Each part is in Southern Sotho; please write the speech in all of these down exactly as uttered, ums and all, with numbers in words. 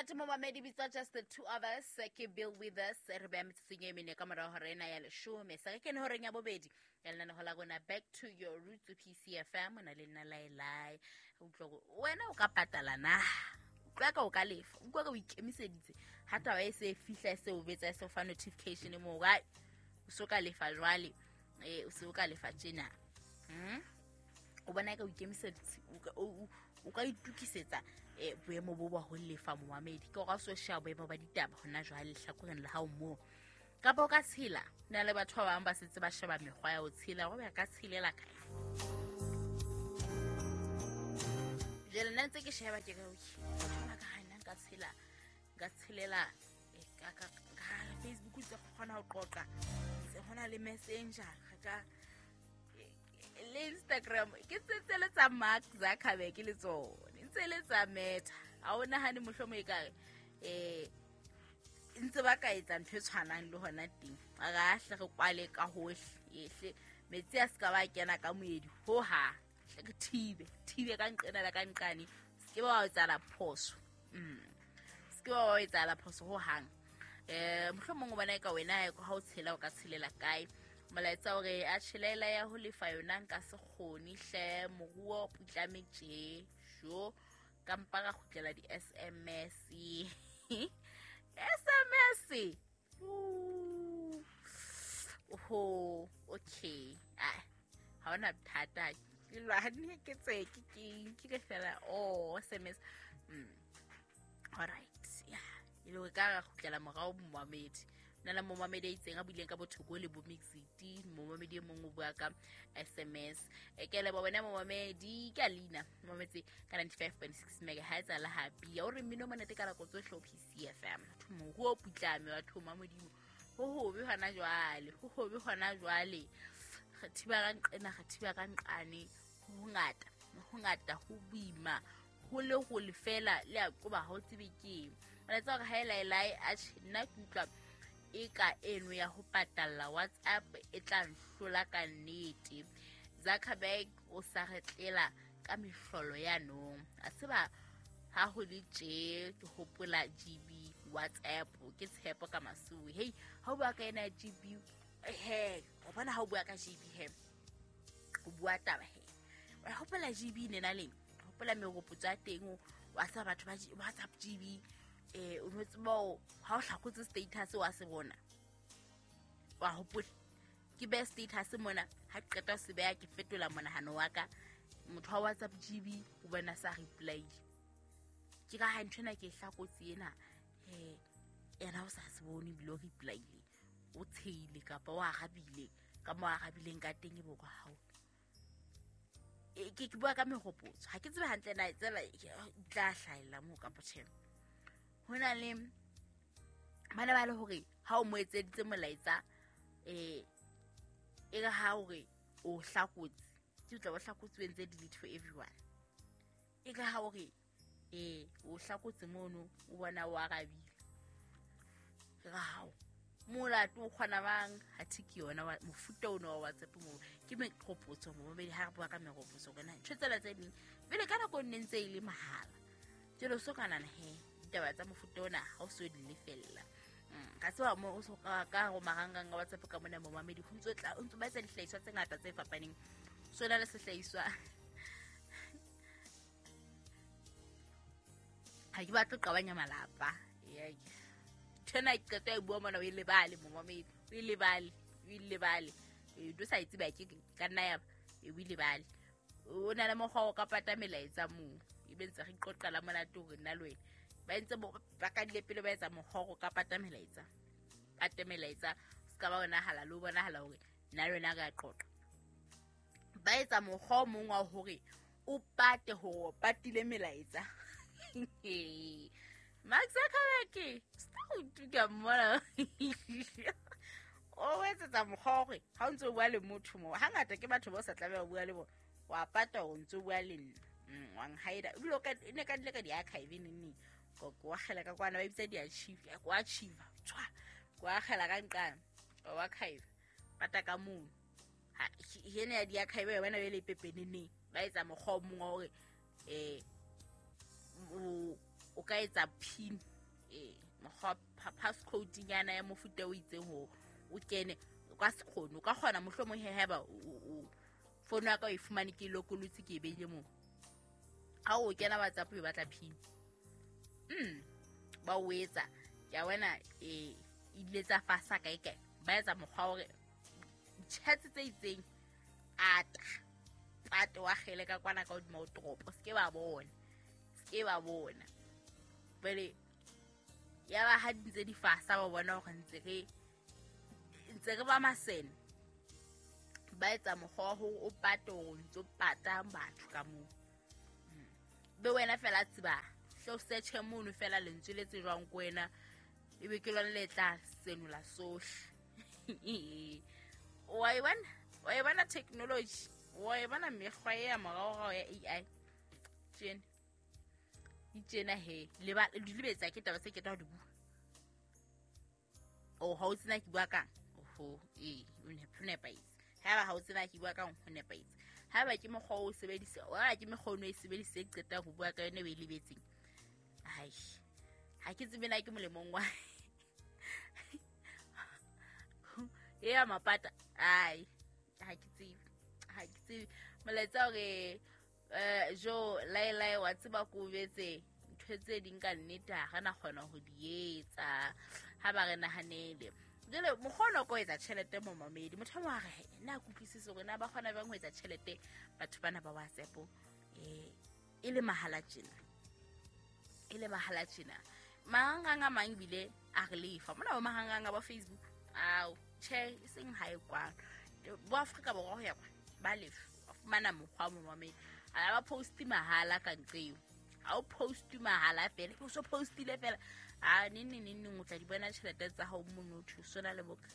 Monate momamedi bitswa Just the Two of Us, ke Bill with Us. Re beha metsotsong e mene ka morao hora ena ya leshome. Sa re kene horeng ya bobedi ya lenaneho la rona Back to Your Roots P C F M. O na le nna Laelai. Utlwa hore wena o ka patala na? Utlwa ka o ka lefa. Utlwa ka o ikemiseditse. Ha taba e se e fihla, e se o betsa, e se o fa notification moo, ai, o so ka lefa jwale. Eh, o se o ka lefa tjena. Hmm? O bona ka o ikemiseditse, o ka, o, o, o ka itukisetsa, eh, boemo bo ba ho lefa momamedi. Ke hore ha o so sheba boemo ba ditaba hona jwale lehlakoreng la hao moo. Kapa o ka tshela, ho na le batho ba bang ba setse ba sheba mekgwa ya ho tshela, hore ba ka tshelela kae. Jwale nna ntse ke sheba ke re, okay, batho ba ka ha nna nka tshela, nka tshelela, eh, ka, ka, ka Facebook ntse ke kgona ho qoqa, ntse hona le Messenger, re ka le Instagram, ke tse tse le tsa Mark Zuckerberg le tsone, ntse le tsa Meta. Ha o nahane mohlomong e kare, eh, ntse ba ka etsa ntho e tshwanang le hona teng. A re ahle re kwale ka hohle, ehle metsi a se ka ba kena ka moedi ho ha. Hle re thibe, thibe ka nqena le ka nqane. Se ke ba wa etsahala phoso. Mm. Se ke ba wa etsahala phoso ho hang. Eh, mohlomong o bona eka wena ha o tshela o ka tshelela kae. Molaetsa o re a tjhelela ya ho lefa yona nka se kgone hle, moruo o putlame tje. Jo, ka mpa ka kgutlela di S M S. S M S. Ooh. Oho, okay. Ah, ha hona bothata. Ke lwane ke tse ke ke ke ke fela, oh, S M S. Mm. All right. Yeah. E le hore ka ra kgutlela morao momamedi. Nna le momamedi a itseng a buileng ka bothoko le bo Mixit, momamedi e mong o bua ka S M S. E ke leboha wena momamedi, ka leina momametse ka ninety-five point six megahertz la Happy. O re mmino monate ka nako tsohle ho P C F M. Batho moruo o putlame, batho ma Modimo. Ho hobe hona jwale, ho hobe hona jwale. Re thiba ka nqena, re thiba ka nqane. Ho hongata, ho hongata, ho boima. Ho le ho lefela le a qoba ha o tsebe ke eng. Molaetsa hore ha e laelae, atjhe, nna ke utlwa e ka eno ya ho patalla WhatsApp e tla nhlola ka nnete. Zuckerberg o sa re tlela ka mehlolo ya nong. A tseba ha ho le tje ke hopola G B WhatsApp ke tshepo ka masuwe. Hey, ha o bua ka ena G B, he, o bona ha o bua ka G B he. O bua taba he. Wa hopola G B nena leng? Hopola meropotso ya teng o wa tseba batho ba G-, WhatsApp G B. Eh, o no tseba hore ha o hlakotse status wa se bona. Wa hopola ke beha status mona, ha ke qeta ho se beha ke fetola monahano wa ka. Motho wa WhatsApp G B o bona sa reply. Ke ka ha nthwena ke e hlakotse ena, eh, yena o sa se bone ebile o reply-ile. O tsheile kapa o arabile ka mo arabileng ka teng e bo kwa hao. E, ke, ke bua ka mehopotso. Ha ke tsebe hantle na tsela e tla hlahella moo kapa tjhe. Ho na le bana ba le hore ha o mo etseditse molaetsa, eh, e re ha hore o hlakotse, ke tla o hlakotse o entse delete for everyone. E re ha hore, eh, o hlakotse mono, o bona o arabile. E re hao, molato o kgona bang, ha thi ke yona wa, mofuta ono wa WhatsApp moo. Ke meqopotso mo, momedi ha re bua ka meqopotso rona, ntho tsela tse ding, pele ka nako e nne ntse e le mahala. Jwale o so ka nahana he, ditaba tsa mofuta ona ha o so di lefella. Mm, ka tseba mo o so ka, ka ho marangrang a WhatsApp ka mona momamedi, ho ntso tla, o ntso ba etsa dihlahiswa tse ngata tse fapaneng. So na le sehlahiswa. Ha ke batle ho qabanya malapa. Yeah. Ntho ena ke qeta e bua mona, o e lebale momamedi, o e lebale, o e lebale. E, do sa e tseba ke ka nna ya ba, e, o e lebale. O na le mokgwa o ka pata melaetsa moo. Ebe ntse re qoqela monate hore nna le wena. Ba entse bo, ba kadile pele ba etsa mokgwa o ka pata melaetsa. Pate melaetsa, se ka ba bonahala le ho bonahala hore nna le wena re a qoqa. Ba etsa mokgwa o mong wa hore o pate hore o patile melaetsa. Mark Zuckerberg, stop ka mmona. O etsetsa mokgwa hore ha o ntso o bua le motho moo, hangata ke batho ba o sa tlameha ho bua le bona, wa pata hore o ntso o bua le nna. Mm, wa nhida. Ebile o ka, e ne ka dile ka di-archive neng neng. Ko, ko akgela ka kwana, ba bitsa di-archive, ko archive, tshwa. Ko akgela ka nqane, wa archive. Pata ka mono. Ha, he ena ya di-archive ya bona e le pepeneneng. Ba etsa mokgwa o mong wa hore, eh, o, o ka etsa pin Eh mokgwa passcode nyana ya mofuta o itseng ho o kene o ka se kgone o ka kgona mohlomong he haeba o fono ya ka o e fumane ke lokolotse ke e beile moo. Ha o kena WhatsApp o batla pin. Mm ba o etsa ke a wena e ile tsa fasa kae kae ba etsa mokgwa hore chats tse itseng ata pate wa kgele ka kwana ka hodima o toropo se ke ba bona se ke ba bona pele ya ba ha dintse di fasa ba bona hore ntse re ntse re ba masene ba etsa mokgwa hore o pate hore ntse o pata batho ka moo be wena fela tseba hlo search mono fela lentswe le tsejwang ko wena ebe ke lona le tla senola sohle. Wa e bona wa e bona technology wa e bona mekgwa ya moraorao ya A I tjena itjena he le ba di lebetsa ke taba se ke tla di bua o ha o tsena ke bua kang oho eh o ne nepahetse ha ba ha o tsena ke bua kang ho nepahetse ha ba ke mokgwa o sebedisa wa ke mekgwa o e sebedise qeta ho bua ka yona e lebetseng ai ha ke tsebe na ke molemong wa ya mapata ai ha ke tsebe ha ke tsebe molaetsa hore eh jo lai lai wa tseba ko betse ntho tse ding ka nnete ha re na kgona ho di etsa ha ba re nahanele jele mokgona ko etsa tjhelete mo mamedi motho wa re na kutlwisise hore na ba kgona bang ho etsa tjhelete batho bana ba WhatsApp eh e le mahala tjena e le mahala tjena marangrang a mang bile a re lefa mona ba marangrang a ba Facebook ao che e seng ha e kwano bo Afrika Borwa ho ya kwa ba lefa wa fumana mokgwa mo mamedi a ba post mahala ka nqeo ha o post mahala fela o so postile fela a ne ne ne o tla di bona tjhelete tsa hao mono o sona le boka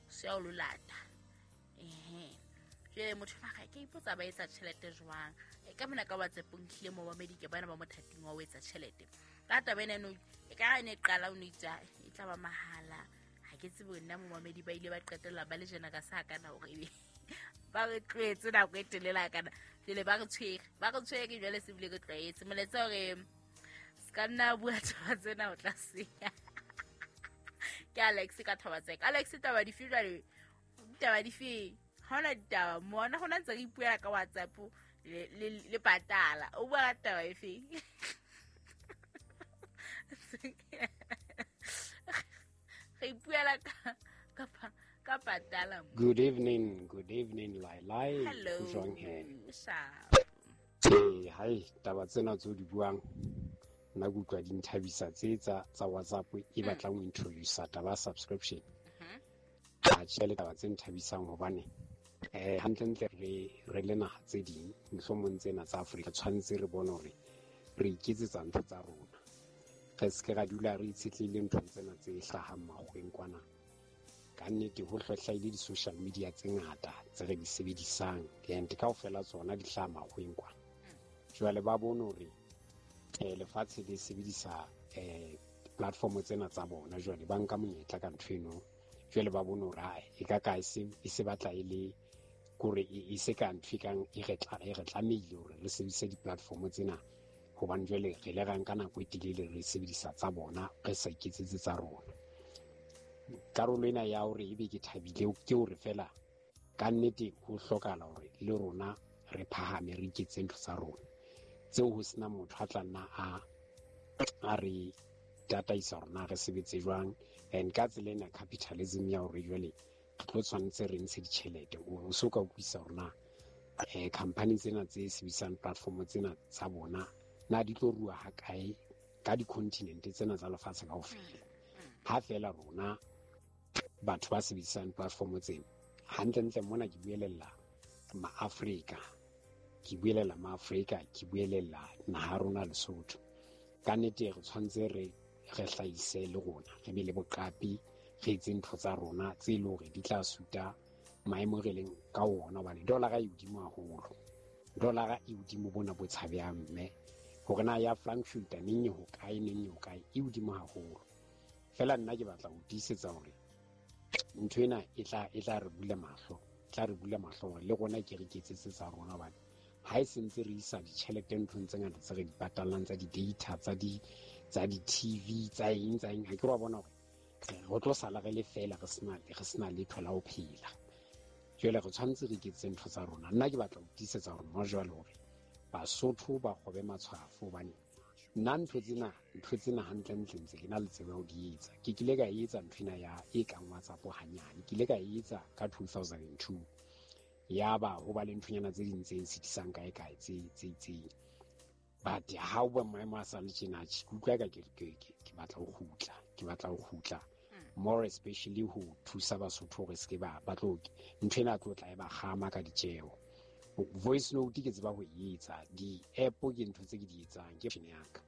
se ya o lolata ehe jwale motho ba ga ke ipotsa ba etsa tjhelete jwang e ka mona ka WhatsApp ntlile mo ba medike bana ba mothating wa o etsa tjhelete ka taba ena no e ka ne qala o no itsa e tla ba mahala ha ke tsebe nna mo mamedi ba ile ba qetella ba le jena ka sa kana hore ebe ba re tlwetse nako e telela kana jwale ba re tshwere ba re tshwere jwale se bile ke tlwaetse molaetsa hore se ka nna bua taba tsena o tla senya ke Alex ka taba tseka Alex taba dife jwale ditaba dife ha ona ditaba mona hona ntse re ipuela ka WhatsApp le le patala o bua ka taba efe re ipuela ka ka ka patala. Good evening, good evening Lai Lai. Hello. Jwang he? Sharp. Eh hai taba tsena tse di buang nna ke utlwa di nthabisa tse tsa tsa WhatsApp e batlang ho introduce taba subscription. Ha tjhe taba tse nthabisang hobane eh hantlentle re re le naha tse ding mohlomong tsena tsa Afrika tshwanetse re bone hore re iketsetsa ntho tsa rona. Re se ke ra dula re itshetlehile nthong tsena tse hlahang makgweng kwana. Ka nnete ho hlwahlahile di-social media tse ngata tse re di sebedisang and kaofela tsona di hlaha makgweng kwana. Jwale ba bone hore eh lefatshe le sebedisa eh platform tsena tsa bona jwale ba nka monyetla ka ntho eno jwale ba bone hore ha e ka ka e se e se batla e le kore e se ka ntho e kang e re tla e re tlamehile hore re sebedise di-platform tsena hobane jwale re le rang ka nako e telele re sebedisa tsa bona re sa iketsetse tsa rona. Karolo ena ya hore ebe ke thabile ke hore fela ka nnete ho hlokahala hore le rona re phahame re iketse ntho tsa rona tseo ho sena motho a tla nna a a re tataisa rona re sebetse jwang. And ka tsela ena capitalism ya hore jwale re tlo tshwanetse re ntshe ditjhelete o so ka utlwisisa hore na eh company tsena tse sebedisang platform tsena tsa bona na di tlo rua ha kae ka di-continent tsena tsa lefatshe kaofela. Ha fela rona batho ba sebedisang platform tsena hantlentle mona ke buelella ma-Afrika ke buelella ma-Afrika ke buelella naha rona Lesotho. Ka nnete re tshwanetse re re hlahise le rona re be le boqapi re etse ntho tsa rona tse leng hore di tla suta maemo re leng ka ona hobane dollar e hodimo haholo. Dollar e hodimo bona bo tshabehang mme hore na ya Frankfurt neng e ho kae neng e ho kae e hodimo haholo. Fela nna ke batla ho tiisetsa hore ntho ena e tla e tla re bula mahlo tla re bula mahlo hore le rona ke re iketsetse tsa rona hobane ha e sentse re isa ditjhelete nthong tse ngata tse re di patallang tsa di-data tsa di tsa di-T V tsa eng tsa eng. Ha ke re wa bona hore re tlo sala re le feela re sena re sena letho la ho phela. Jwale re tshwanetse re iketsetse ntho tsa rona. Nna ke batla ho tiisetsa hore mo jwale hore Basotho ba kgobe matshwafo hobane nna ntho tsena ntho tsena hantlentle ntse ke na le tsebo ya ho di etsa. Ke kile ka etsa nthwena ya e kang WhatsApp hanyane. Ke ile ka etsa ka two thousand and two. Ya ba ho ba le nthonyana tse ding tse nsitisang kae kae tse tse itseng. But ha o ba maemo a sa le tjena, ke utlwa ka ke ke ke batla ho kgutla, ke batla ho kgutla. More especially ho thusa Basotho hore se ke ba ba tlo nthwena tlo tla e ba kgama ka ditjeho. Voice note ke tseba ho e etsa, di-app ke ntho tse ke di etsang, ke option ya ka.